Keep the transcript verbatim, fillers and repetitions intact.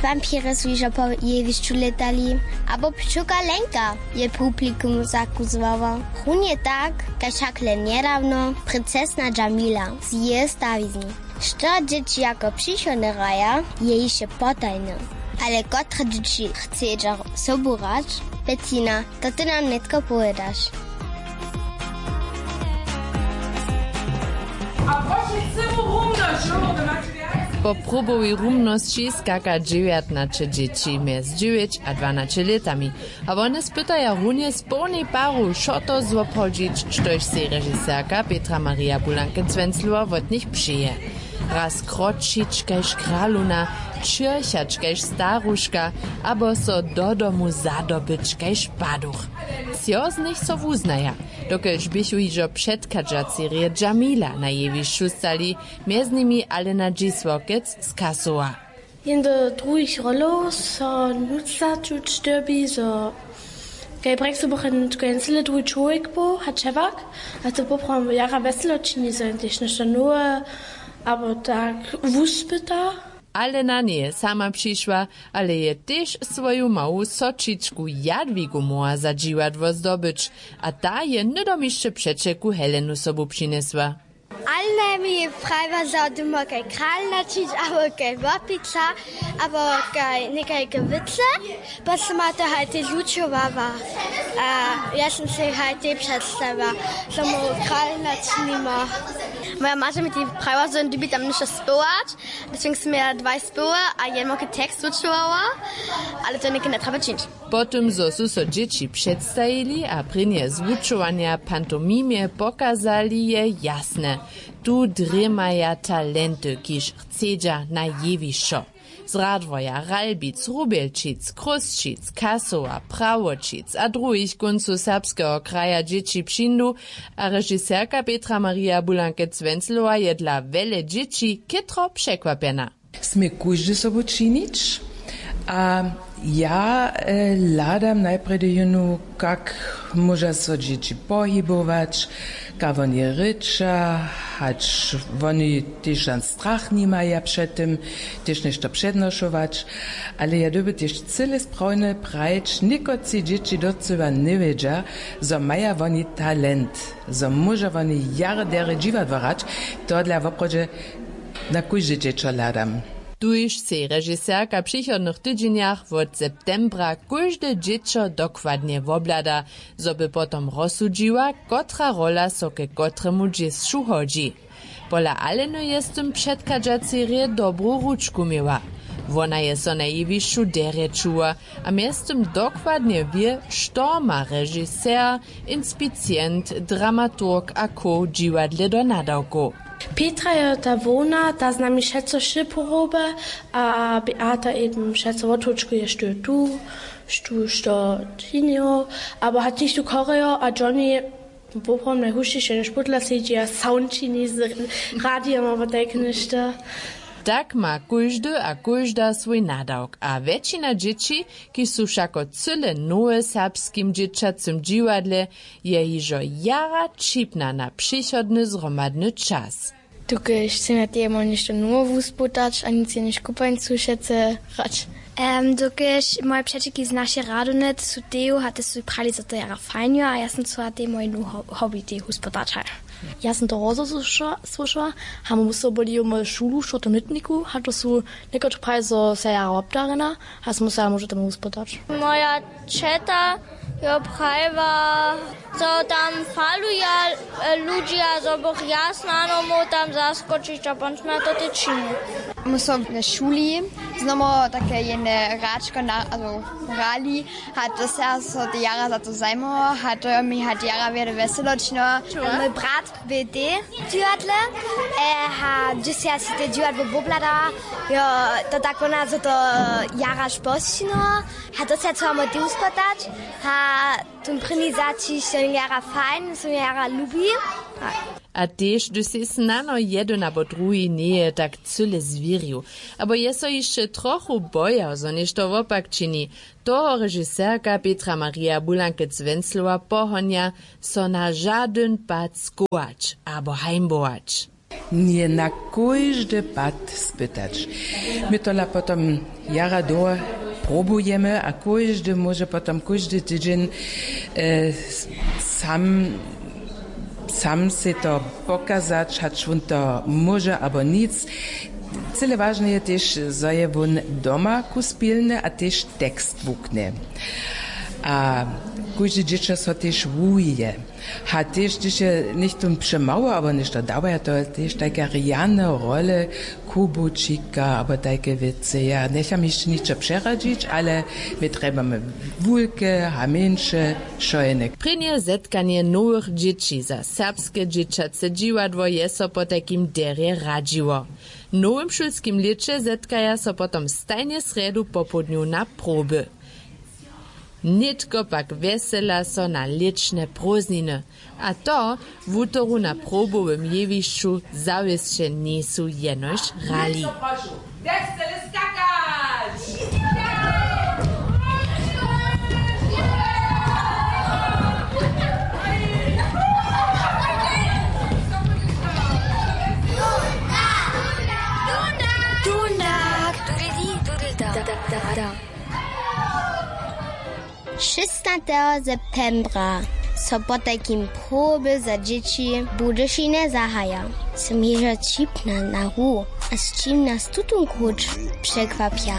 Wampiri su hižo po jewišću lětali, abo pčołka Lenka je publikum zakuzłała. Runje tak, kaž hakle njedawno princesna Džamila z jeje stawiznu. Što dźěći jako přichodne hraja, je hišće potajne. Ale kotre dźěći chcedźa sobu hrać? Betina, to ty nam nětko powědaš. A prošu cyłu rumnosć, jo, to macie wjac. Po próbowej rumnosći skaka dźewjatnaće dźěći mjez dźewjeć a dwanaće lětami. A wone spytaja runje z połnej paru, što to złobchodźić, štož sej režiserka Petra Maria Bulankec-Wenzlowa wot nich přeje. Raz kročić kaž kralowna, čěrchać kaž staruška, abo so do domu zadobyć kaž paduch. Třo z nich so wuznaja, dokelž běchu hižo předchadźacej rje Džamila na jewišću stali, mjez nimi Alena Dźisławkec z Kasowa. Jen do druhich rolow so nutř začuć dyrbi, zo kaj brexu bych jen cyle druhi čłowjek był, hač hewak, a to poprawom jara wjeselo čini, zo jen tež něšto nowe abo tak wuspyta. Alena njeje sama přišła, ale je tež swoju mału sočičku Jadwigu móhła za dźiwadło zdobyć, a ta je hnydom hišće přećelku Helenu sobu přinjesła. Ale mi prajiła, zo dym móhł kaj kralna čić abo kaj wopica abo kaj někajke wěcy. Potom ma to haj tež wučowała. A ja sam sej haj tej předstawiła, zo móhł kralna činima. Moja maća mi tej prajiła, zo jen dyrbji tam něšto spěwać. Deswegen sym ja dwaj spěwy a jedyn małki tekst wučowała, ale to něke njetrjeba čińć. Po tym, zo su so dźěći předstajili a prěnje zwučowanja pantomimje pokazali, je jasne: tu drěmaja talenty, kiž chcedźa na jewišćo. Z Radworja, Ralbic, Rubjelčic, Chrósćic, Kasowa, Prawoćic a druhich kóncow serbskeho kraja dźěći přińdu a režiserka Petra Maria Bulankec-Wenzlowa je dla wjele dźěći chětro překwapjena. Smě kóždy sobu činić. A ja e, hladam najprjedy jónu, kak móža so dźěći pohibować, kak woni rěča, hač woni tež tam strach nimaja před tym, tež něšto přednošować. Ale ja dyrbju tež cyle sprawne prajić, někotři dźěći docyła njewědźa, zo maja woni talent, zo móža woni jara derje dźiwadło hrać. Tohodla woprawdźe na kóžde dźěćo hladam. Tuž sej režiserka w přichodnych tydźenjach wot septembra kóžde dźěćo dokładnje wobhlada, zo by potom rozsudźiła, kotra rola so ke kotremu dźěsću hodźi. Pola Aleny je z tym předchadźacej rje dobru ručku měła. Wona je so na jewišću derje čuła a mjeztym dokładnje wě, što ma režiser, inspicient, dramaturg a co w dźiwadle do nadawkow. Petra je ta hłowna, ta z nami wšetco wšě poroby, a Beata eben wšetco wotwučkuje, štó je tu, štó što činijo, abo hač hišće chorejo a Johnny, poprawom najhušćišo, jenož pódla sedźi a sound čini z radiom abo tajke něšto. Tak ma kóždy a kóžda swój nadawk a wjetšina dźěći, kiž su wšako cyle nowe w serbskim dźěćacym dźiwadle, je hižo jara ćipna na přichodny zhromadny čas. Dokelž chcemy tež móhli něšto nowe wuspytać a nic jenož kupańcu wšetcy hrać. Em, dokelž moje přećelki z našej radowne, te su teju a te su prali, zo to jara fajn jo, a ja sam chcała tej moje nowe ho-, hobby teju wuspytać. Ja sam to rozo słyša-, słyšała, a mam so byli moju šulu w čtwórtym lětniku, a to su někotři prali, zo se jara wobdarjena, a smy so ja móžu tam wuspytać. Moja ćeta jo prajiła, zo tam faluja, e, ludźi a zo bych ja snano móhł tam zaskočić a potom smy to tež činili. My so w šuli znowu take jedne hračko na, also hrali, a to se so te jara za to zajmował, a to jo mi hat jara wjele wjeselo činilo. Mój brat bě tež w dźiwadle, e, a dźěsć ja sej te dźiwadło wobhladała, jo, to tak wona, zo to jara spočinilo, a to se chcała mój tež wuspytać, a tón prěni zaćišć je jara fajn, so mi jara lubi. A tež hdyž sej snano jedyn abo druhi njeje tak cyle zwěrił, abo je so hišće trochu bojał, zo něšto wopak čini, toho režiserka Petra Maria Bulankec-Wenzlowa pohonja, so na žadyn pad skołać abo hańbować. Nje na kóždy pad spytać. My tola potom jara dołho probujemy a kóždy móže potom kóždy tydźeń sam sam sej to pokazać, hač wón to móže abo nic. Cyle wažne je tež, zo je wón doma kuspilny a tež tekst wuknje. A kóžde dźěćo so tež wuhije. A tež hdyž je něchtó přemało abo něšto dawaja, to tež tajke rjane role, kubučika abo tajke wěcy. Ja njecham hišće ničo přeradźić, ale my trjebamy wulke a mjeńše šojeny. Prěnje zetkanje nowych dźěći za serbske dźěćace dźiwadło je so potajkim derje radźiło. W nowym šulskim lěće zetkaja so potom stajnje srjedu popołdnju na proby. Nětko pak wjesela so na lěćne prózdniny. A to wutoru na probowym jewišću zawěsće njejsu jenož hrali. Šěsnateho septembra so potajkim proby za dźěći w Budyšinje zahaja. Sym hižo ćipna na hru a z čim nas tutón kruć překwapja.